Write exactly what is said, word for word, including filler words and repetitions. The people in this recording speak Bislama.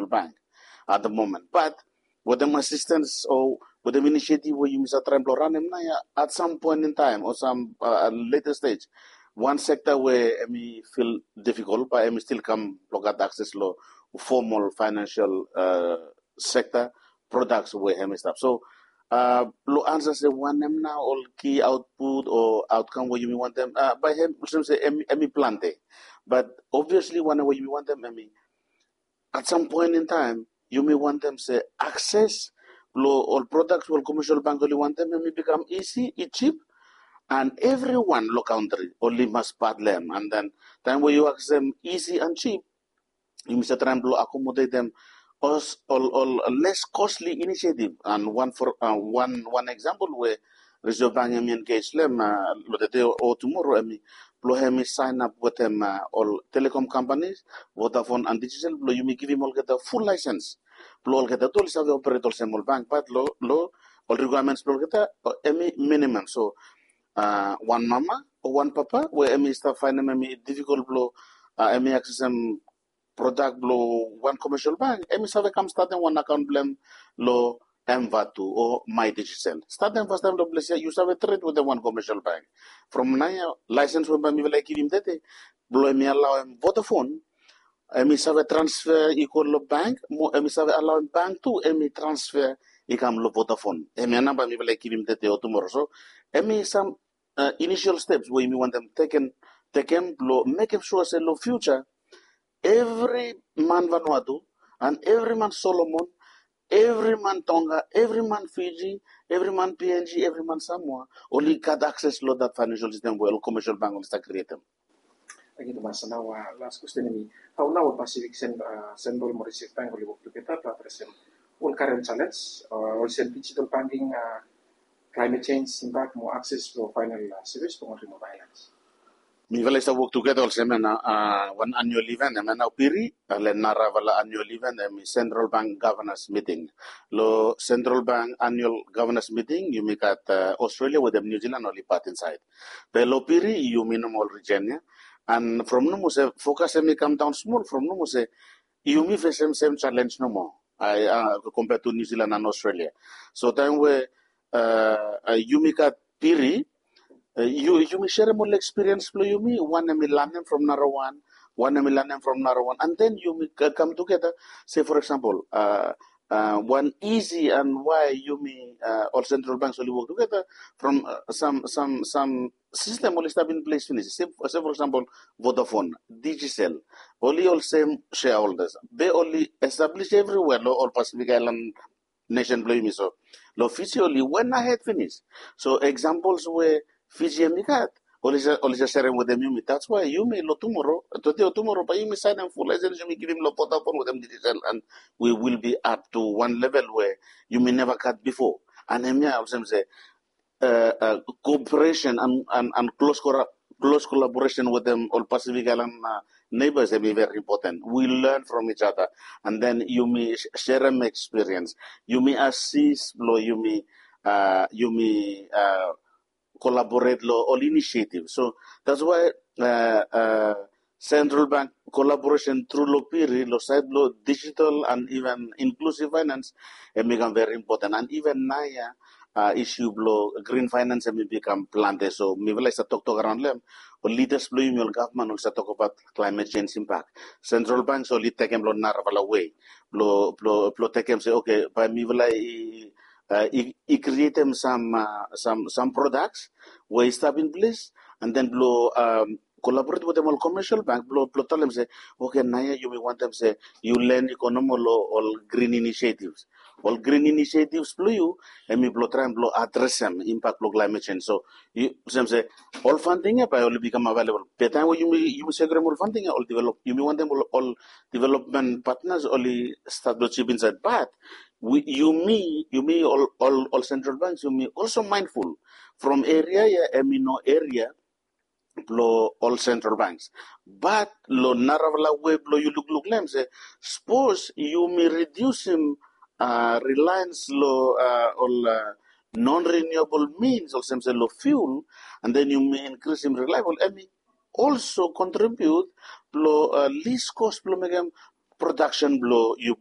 bank at the moment. But wetem assistance o wetem initiative we yumi sa traem blong ranem nao ya, at some point in time o some uh, later stage, wan sekta we hemi feel difficult bae hemi still kam blong gat access long formal financial uh, sekta products we hemi stap. So uh, blong ansa se wanem nao ol key output o outcome we yumi wantem uh, bae hem olsem se hemi, hemi plante. But obviously wanem we yumi wantem hemi at some point in time yumi wantem se access blong ol products we ol commercial bank oli wantem hemi bikam easy, i cheap, and everyone long country oli mas part long hem. And then taem we yu access hem easy and cheap, yumi sa traem blong accommodatem ol, ol less costly initiative. And one for uh, one one example we Reserve Bank hemi engage long hem uh, long tede o tomorrow hemi blong hemi sign up wetem uh, ol telecom companies, Vodafone and Digicel, blong yumi givim olgeta full license blong olgeta tu oli save operate olsem ol bank, but long long ol requirements blong olgeta uh, hemi minimum. So uh, wan mama o wan papa we hemi stap faenem hemi difficult blong uh, hemi accessem product blong wan commercial bank, hemi save kam statem wan account blong hem long MVATU o My Digicel. Statem fastaem long ples ya yu save trade wetem wan commercial bank. From nao ya license we bae mifala i givim tede blong hemi alaoem Vodafone hemi save transfer i go long bank mo hemi save alaoem bank tu hemi transfer i kam long Vodafone. Hemia nao bae mifala i givim tede o tomorrow. So hemi sam uh, initial steps we yumi wantem tekem tekem blong mekem sua se long future evri man Vanuatu and evri man Solomon, evri man Tonga, evri man Fiji, evri man PNG, evri man Samoa oli gat access long that financial system we ol commercial bank oli stap createm. Tangkiu tumas. Nao uh, last question hemi, hao nao ol Pacific Cen- uh, Central mo Reserve Bank oli wok tugeta blong adresem ol current challenge uh, olsem digital banking, uh, climate change impact mo access blong final uh, service blong ol remote islands? Mifala i stap wok tugeta olsem ya nao uh, wan annual event hemia nao piri, uh, long narafala annual event hemi Central Bank Governors Meeting. Long Central Bank annual governors meeting yumi gat uh, Australia wetem New Zealand oli part inside. Be long piri yumi nomo ol region ya. And from nomo se focus hemi kam daon smol from nomo se yumi fesem sem challenge nomo, ai uh, compare to New Zealand and Australia. So taem we uh, uh, yumi gat piri uh, yu, yumi serem ol experience blong yumi, wan hemi lanem from narawan, wan hemi lanem from narawan, and then yumi ka- come together. Say for example uh, uh, wan easy and why yumi uh, ol central banks oli wok tugeta from uh, some some some system oli stap in place finis. Say, say for example Vodafone, Digicel, oli olsem shareholders be oli establish everywhere long ol Pacific Island nation blong yumi. So long Fiji oli went ahead finis. So examples we Fiji hemi gat oli just serem wetem yumi. That's why yumi long tomorrow, today o tomorrow bae yumi saenem full license yumi givim long Vodafone wetem Digicel, and we will be up to one level we yumi neva gat before. And hemia olsem se uh, uh, cooperation and, and, and close, cora- close collaboration wetem ol Pacific Island uh, neighbors hemi very important. We learn from each other and then yumi serem experience, yumi assist blong yumi uh, yumi uh, collaborate long ol initiative. So that's why uh, uh, Central Bank collaboration through long piri long side blong digital and even inclusive finance hemi kam very important. And even naoia uh, issue blong green finance hemi bikam plante. So mifala i stap toktok araon long hem, ol leaders blong yumi, ol gavman oli stap tokbaot climate change impact. Central banks oli tekem long narafala way blong blong blong tekem se okay, bae mifala i uh, i, i createm some uh, some some products we i stap in place, and then blong um, collaborate wetem ol commercial bank blong blong talem se okay, naoia yumi wantem se yu len i go nomo long ol green initiatives. Ol green initiatives blong yu hemi blong traem blong adresem impact blong climate change. So yu sem se ol funding ya bae oli bikam available. Be taem we yumi yumi sekurem ol funding ya, ol develop yumi wantem ol, ol development partners oli start blong chip inside. But we, yumi yumi ol, ol, ol central banks yumi also mindful from area ya hemi no area blong ol central banks. But long narafala way blong yu lukluk long hem se, sapos yumi redusim uh, reliance long uh, ol uh, non-renewable means olsem se long fuel, and then yumi increasim reliable, hemi also contribute blong uh, least cost blong mekem production blong yu